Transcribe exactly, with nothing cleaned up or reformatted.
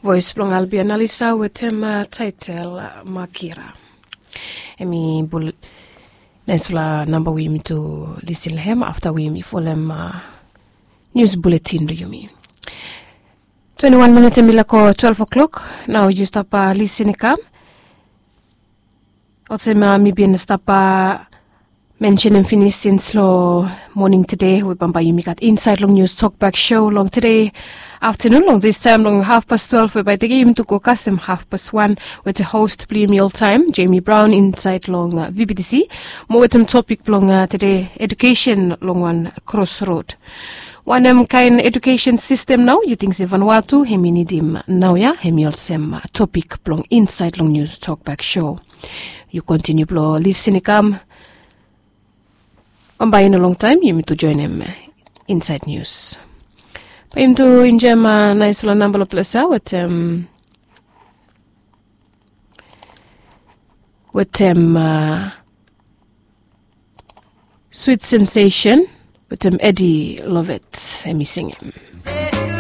Voes blong Albia Nalisa wetem taitel Makira. Em i bul naisfala namba we yumi tu lisin long hem afta we yumi folem nius buletin blong yumi. Twenti wan minit em i lako twelve o'clock. Nao yu stap lisin i kam. Olsem mi bin stap mensenim finis sins long moning tede we bambae yumi gat insaed long nius tokbak sho long tede aftanun long distaem long hafpas twelve we bae tede yumi tu go kasem hafpas wan wetem host blong yumi oltaem Jemi Braon insaed long vbtc, mo wetem topik blong tede edukesen long wan krosrod. Wanem kaen edukesen sistem nao yu ting se Vanuatu hem i nidim naoia hem i olsem topik blong insaed long nius tokbak sho. Yu kontiniu blong lisin i kam. Bambae i no longtaem yumi tu joenem insaed nius. Bae yumi tu enjoem naisfala namba long ples ya wetem wetem swit sensesen wetem Edi Lovet. Hem i singim.